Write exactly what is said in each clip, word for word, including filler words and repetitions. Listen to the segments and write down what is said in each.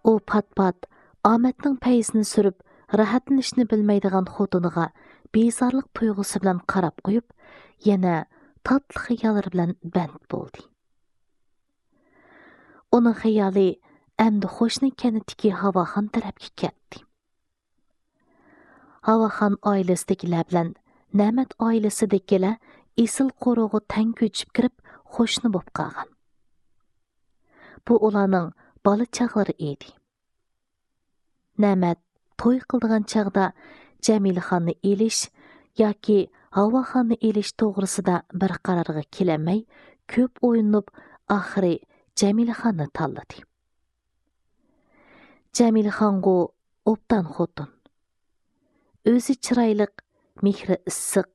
ئۇ پات-پات ئامەتنىڭ پەيزىنى سۈرۈپ، راھەتلىنىشنى بىلمەيدىغان خوتۇنىغا بىزارلىق تۇيغۇسى بىلەن قاراپ قويۇپ، يەنە تاتلىق خىياللىرى بىلەن بەند بولدى. ئۇنىڭ خىيالى ئەمدى قوشنا كەنتتىكى ھاۋاخان تەرەپكە كەتتى. ھاۋاخان ئائىلىسىدىكىلەر بىلەن نەمەت ئائىلىسىدىكىلەر ئېسىل قورۇغا تەڭ كۆچۈپ كىرىپ، قوشنا بولۇپ قالغان. بۇ ئۇلارنىڭ بالا چاغلىرى ئىدى. نەمەت توي قىلىدىغان چاغدا جەمىلىخاننى ئېلىش ياكى ھاۋاخاننى ئېلىش توغرىسىدا بىر قارارغا كېلەلمەي، كۆپ ئويلىنىپ، ئاخىرى جەمىلىخاننى تاللىدى. جەمىلىخانغۇ ئوبدان خوتۇن. ئۆزى چىرايلىق، مېھرى ئىسسىق،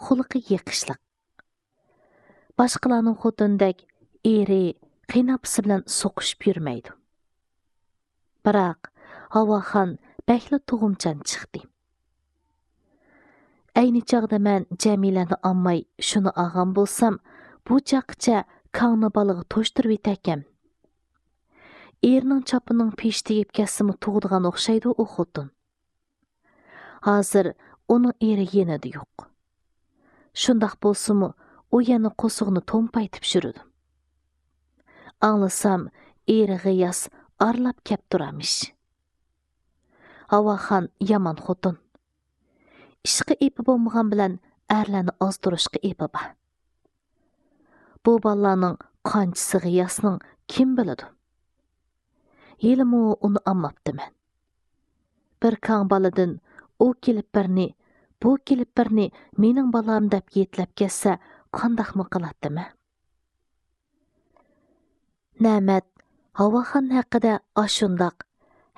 خۇلقى يېقىشلىق. باشقىلارنىڭ خوتۇنىدەك ئېرى، قېيىنئاپىسى بىلەن سوقۇشۇپ يۈرمەيدۇ. بىراق، ھاۋاخان بەكلا تۇغۇمچان چىقتى. ئەينى چاغدا مەن جەمىلەنى ئالماي شۇنى ئالغان بولسام، بۇ چاغقىچە كاڭنى بالىغا توشتۇرۇۋېتەركەن. ئېرىنىڭ چاپىنىنىڭ پېشى تېگىپ كەتسىمۇ تۇغىدىغان ئوخشايدۇ ئۇ خوتۇن. ھازىر ئۇنىڭ ئېرى يېنىدا يوق. شۇنداق بولسىمۇ، ئۇ يەنە قورسىقىنى تومپايتىپ يۈرىدۇ. ئاڭلىسام، ئېرى غىياس ئارىلاپ كەپ تۇرامىش. ھاۋاخان يامان خوتۇن. ئىشقا ئېپى بولمىغان بىلەن ئەرلەرنى ئازدۇرۇشقا ئېپى بار. بۇ بالىلارنىڭ قانچىسى غىياسنىڭ كىم بىلىدۇ؟ ھېلىمۇ ئۇنى ئالماپتىمەن. بىر كاڭ بالىدىن ئۇ كېلىپەرنى، بۇ كېلىپەرنى مېنىڭ بالام دەپ يېتىلەپ كەتسە، قانداقمۇ قىلاتتىمەن؟ نەمەت ھاۋاخان ھەققىدە ئاشۇنداق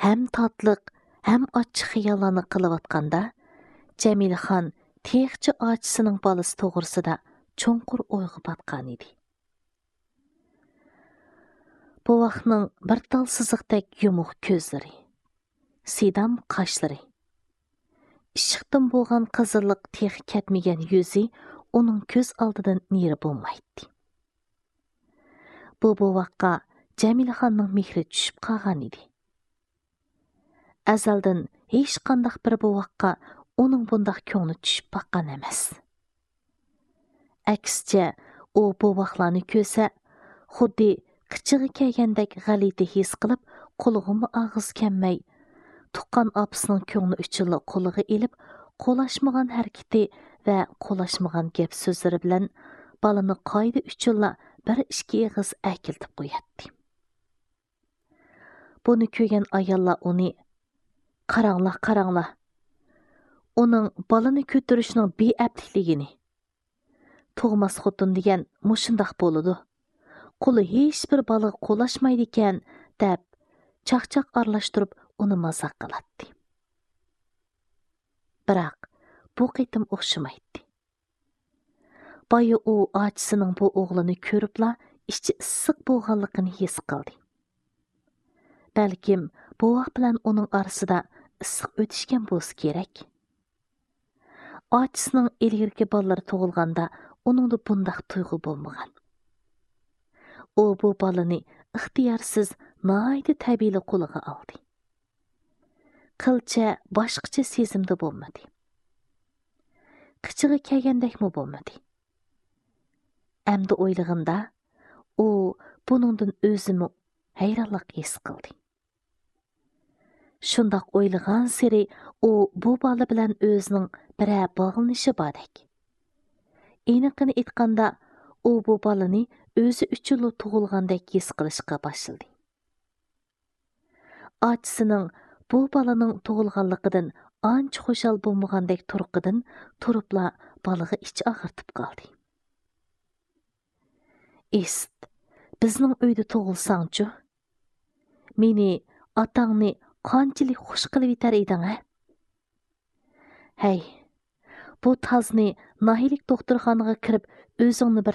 ھەم تاتلىق، ھەم ئاچچىق خىياللارنى قىلىۋاتقاندا، جەمىلىخان تېخىچە ئاچىسىنىڭ بالىسى توغرىسىدا چوڭقۇر ئويغا پاتقان ئىدى. بوۋاقنىڭ بىر تال سىزىقتەك يۇمۇق كۆزلىرى، سىدام قاشلىرى، ئىششىقتىن بولغان قىزىللىق تېخى كەتمىگەن يۈزى ئۇنىڭ كۆز ئالدىدىن نېرى بولمايتتى. بۇ بوۋاققا جەمىلىخاننىڭ مېھرى چۈشۈپ قالغان ئىدى. ئەزەلدىن ھېچقانداق بىر بوۋاققا ئۇنىڭ بۇنداق كۆڭلى چۈشۈپ باققان ئەمەس. ئەكسىچە، ئۇ بوۋاقلارنى كۆرسە، خۇددى قىچىغا كەلگەندەك غەلىتە ھېس قىلىپ، قۇلىقىمۇ ئاغزى كەلمەي، تۇغقان ئاپىسىنىڭ كۆڭلى ئۈچۈنلا قولىغا ئېلىپ، قولاشمىغان ھەرىكىتى ۋە قولاشمىغان گەپ سۆزلىرى بىلەن بالىنى قائىدە ئۈچۈنلا بىر ئىككى ئېغىز ئەركىلىتىپ قوياتتى. بۇنى كۆرگەن ئاياللار ئۇنى، «قاراڭلار، قاراڭلار! ئۇنىڭ بالىنى كۆتۈرۈشنىڭ بىئەپلىكلىكىنى! تۇغماس خوتۇن دېگەن مۇشۇنداق بولىدۇ. قولى ھېچبىر بالىغا قولاشمايدىكەن» دەپ، چاقچاق ئارىلاشتۇرۇپ ئۇنى مازاق قىلاتتى. بىراق، بۇ قېتىم ئوخشىمايتتى. بايا ئۇ ئاچىسىنىڭ بۇ ئوغلىنى كۆرۈپلا ئىچى ئىسسىق بولغانلىقىنى ھېس قىلدى. بەلكىم بوۋاق بىلەن ئۇنىڭ ئارىسىدا ئىسسىق ئۆتۈشكەن بولسا كېرەك. ئاچىسىنىڭ ئىلگىرىكى بالىلىرى تۇغۇلغاندا ئۇنىڭدا بۇنداق تۇيغۇ بولمىغان. ئۇ بۇ بالىنى ئىختىيارسىز ناھايىتى تەبىئىيلا قولىغا ئالدى. قىلچە باشقىچە سېزىمدە بولمىدى. قىچىغا كەلگەندەكمۇ بولمىدى. ئەمدى ئويلىغىنىدا، ئۇ بۇنىڭدىن ئۆزىمۇ ھەيرانلىق ھېس قىلدى. شۇنداق ئويلىغانسېرى ئۇ بۇ بالا بىلەن ئۆزىنىڭ بىرەر باغلىنىشى باردەك. ئېنىقىنى ئېيتقاندا، ئۇ بۇ بالىنى ئۆزى ئۈچۈنلا تۇغۇلغاندەك ھېس قىلىشقا باشلىدى. ئاچىسىنىڭ بۇ بالىنىڭ تۇغۇلغانلىقىدىن ئانچە خۇشال بولمىغاندەك تۇرقىدىن تۇرۇپلا بالىغا ئىچ ئاغرىتىپ قالدى. ئىست، بىزنىڭ ئۆيدە تۇغۇلساڭچۇ؟ مېنى ئاتاڭنى قانچىلىك خۇش قىلىۋېتەر ئىدىڭ ھە؟ ھەي، بۇ تازنى ناھىيىلىك دوختۇرخانىغا كىرىپ ئۆزۈڭنى بىر